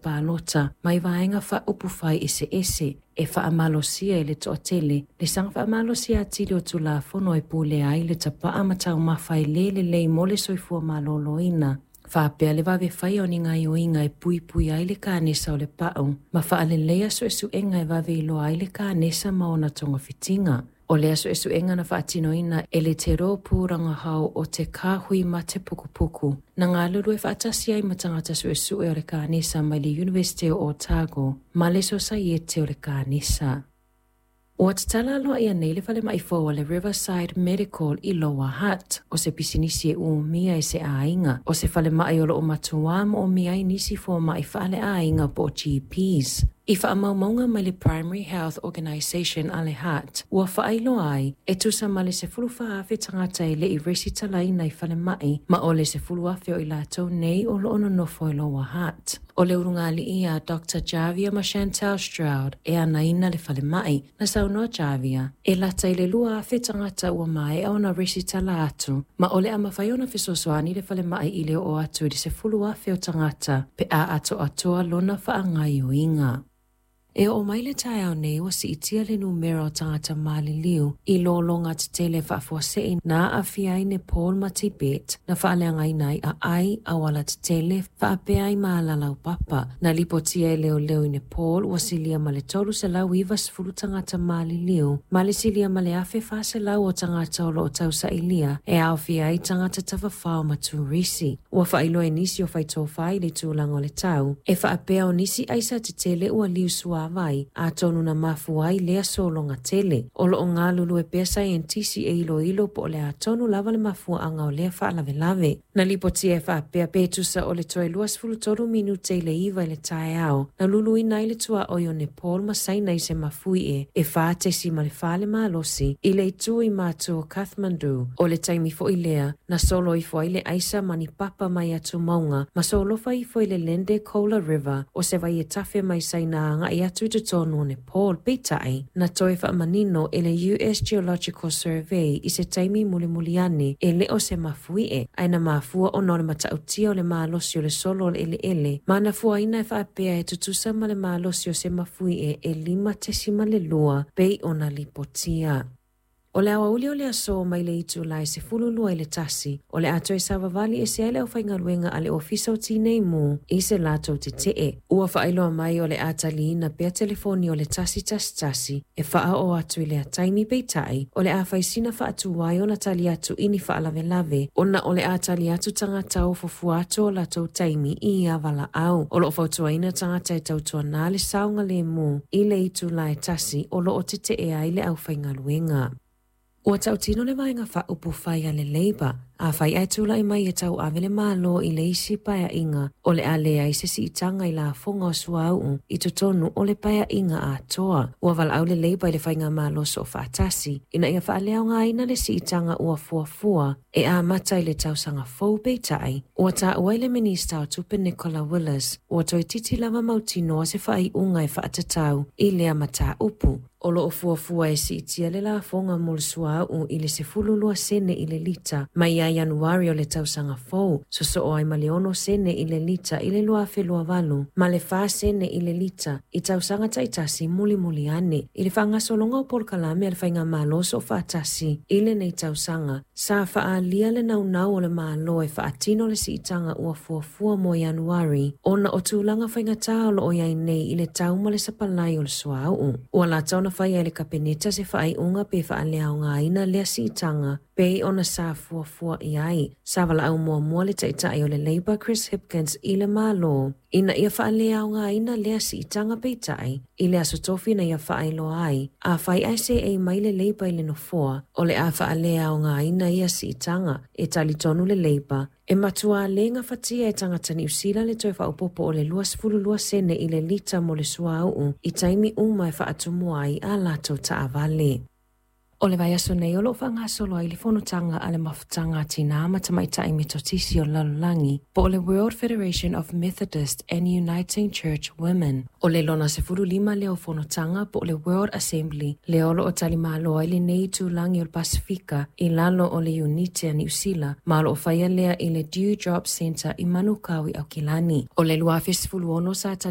palota mai vaega faaupufai eseese e faamalosia e le toatele le saga faamalosia atili o Tulafono e pulea ai le tapaa ma taumafa e lē lelei mo le soifua malōlōina, faapea le vave faia o ni gaoioiga e puipui ai le kanesa o le pa'u ma faaleleia suesuega e vave iloa ai le kanesa ma ona togafitiga. O lea suesuega na faatinoina e le Te Rōpū Rangahau o te Kāhui Mate Pukupuku, na galulue faatasi ai ma tagata suesue o le kanesa mai le Iunivesite o Otago ma le Sosaiete o le Kanesa. Ua tatala aloaia nei le falemai fou a le Riverside Medical i Lower Hutt, o se pisinisi e umia e se aiga, o se falemai o loo matuā moomia ai nisi fomaʻi faaleaiga po o GPs. I faamaumauga mai le Primary Health Organisation a le Hutt, ua faailoa ai, e tusa ma le 14,000 tagata e le i resitalaina i falemai, ma o le 10,000 o i latou nei o loo nonofo i Lower Hutt. O le ulugalii a Dr. Javia ma Chantal Stroud e anaina le falemai. Na saunoa Javia, e lata i le 2,000 tagata ua maea ona resitala atu, ma o le a mafai ona fesoasoani le falemai i le oo atu i le 10,000 o tagata pe a atoatoa lona faagaoioiga. E oo mai le taeao nei ua siitia le numera o tagata maliliu i lologa tetele faafuasei na aafia ai Nepal ma Tibet, na faaleagaina ai aai, auala tetele, faapea ai ma alalaupapa. Na lipotia e leoleo i Nepal ua silia ma le 390 tagata maliliu, ma le silia ma le 1,400 o tagata o loo tausailia e aofia ai tagata tafafao ma turisi. Ua faailoa e nisi o faitofā i le tulaga o le tau, e faapea o nisi aisa tetele ua liu suāvai, atonu na mafua ai lea sologa tele. O loo galulue pea saienitisi e iloilo po o le a tonu lava le mafuaaga o lea faalavelave. Na lipotia e faapea pe tusa o le toe 23 minute i le 9 i le taeao, na luluina ai le tuaoi o Nepal ma Saina i se mafuie e 4.4 le malosi i le itu i matu o Kathmandu. O le taimi foi lea, na solo ifo ai le aisa ma ni papa mai atumauga ma solofa ifo i le Lende Kola River, o se vai e tafe mai Saina agai atu i totonu o Nepal. Peitai, na toe faamanino e le US Geological Survey i se taimi mulimuli ane e le o se mafuie, ae na mafua ona o le matautia o le malosi o le solo o le eleele, ma na fuaina e faapea e tutusa ma le malosi o se mafuie e 5.2 pei ona lipotia. O le aoauli o le aso mai le itula e 12:30, o le a toe savavali ese ai le aufaigaluega a le Ofisa o Tinei Mu i se latou tetee. Ua faailoa mai o le a taliina pea telefoni o le 111 e faaoo atu i lea taimi, peitai, o le a faisina faatuai ona tali atu i ni faalavelave, ona o le a tali atu tagata o fuafua atu o latou taimi i ia valaau. O loo fautuaina tagata e tautuanā le saogalemu i le itula e 1 o loo tetee ai le aufaigaluega. Ua tautino le vaega faaupufai a le Labour, afai ae tulai mai e tauave le Malo i le isi paeaiga, o le a leai se siitaga i lafoga o suauu i totonu o le paeaiga atoa. Ua valaau le Labour i le faigamalo soofaatasi ina ia faaleaogaina le siitaga ua fuafua e amata i le tausaga fou. Peitai, ua taua i le Minista o Tupe Nicola Willis, ua toeitiiti lava mautinoa se faaiuga e faatatau i lea mataupu. O loo fuafua e siitia le lafoga mo le suauu i le 12 sene i le lita mai ia Ianuari o le tausaga fou, sosoo ai ma le 6 sene i le lita i le 2028 ma le 4 sene i le lita i tausaga taitasi mulimuli ane. I le faagasologa o polokalame a le faigamalo soofaatasi i lenei tausaga, sa faaalia le naunau o le Malo e faatino le siitaga ua fuafua mo Ianuari ona o tulaga faigata o loo iai nei i le tau ma le sapalai o le suauu. Ua lata ona faia e le Kapeneta se faaiuga pe faaleaogaina lea siitaga pei ona sa fuafua i ai. Sa valaau muamua le taitai o le Labour Chris Hipkins i le Malo ina ia faaleaogaina lea siitaga, peitai, i le aso Tofi na ia faailoa ai, afai ae seei mai le Labour i le nofoa, o le a faaleaogaina ia siitaga. E talitonu le Labour, e matuā lē gafatia e tagata Niu Sila le toe faaopoopo o le 22 sene i le lita mo le suauu i taimi uma e faatumua ai a latou taavale. O le vaiaso nei o loo faagasolo ai le fonotaga a le Mafutaga a Tinā ma Tamaitai Metotisi o le Lalolagi, po o le World Federation of Methodist and Uniting Church Women. O le lona 15 lea o fonotaga po o le World Assembly lea o loo talimalo ai lenei itulagi o le Pasifika i lalo o le Iunite a Niu Sila, ma o loo faia lea i le Dewdrop Centre i Manukau i Aukilani. O le 2016 sa